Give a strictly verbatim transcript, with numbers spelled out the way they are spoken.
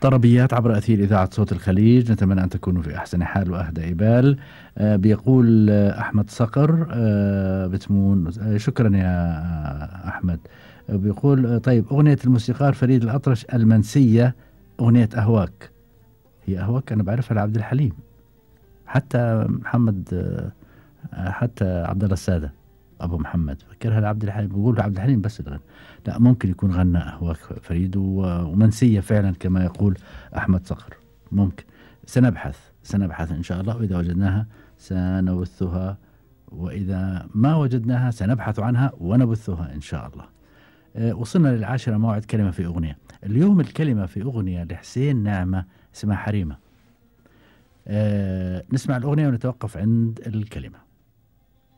طربيات عبر أثير إذاعة صوت الخليج، نتمنى أن تكونوا في أحسن حال وأهدى إبال. آه بيقول آه أحمد صقر آه بتمون، آه شكرا يا آه أحمد. آه بيقول آه طيب أغنية الموسيقار فريد الأطرش المنسية، أغنية أهواك. هي أهواك أنا بعرفها لعبد الحليم، حتى محمد آه حتى عبد الله السادة أبو محمد فكرها لعبد الحليم، بيقول عبد الحليم بس الغنى. لا ممكن يكون غنى أهواك فريد ومنسية فعلا كما يقول أحمد صقر، ممكن. سنبحث سنبحث إن شاء الله، وإذا وجدناها سنبثها، وإذا ما وجدناها سنبحث عنها ونبثها إن شاء الله. أه وصلنا للعاشرة، موعد كلمة في أغنية. اليوم الكلمة في أغنية لحسين نعمة اسمها حريمة. أه نسمع الأغنية ونتوقف عند الكلمة.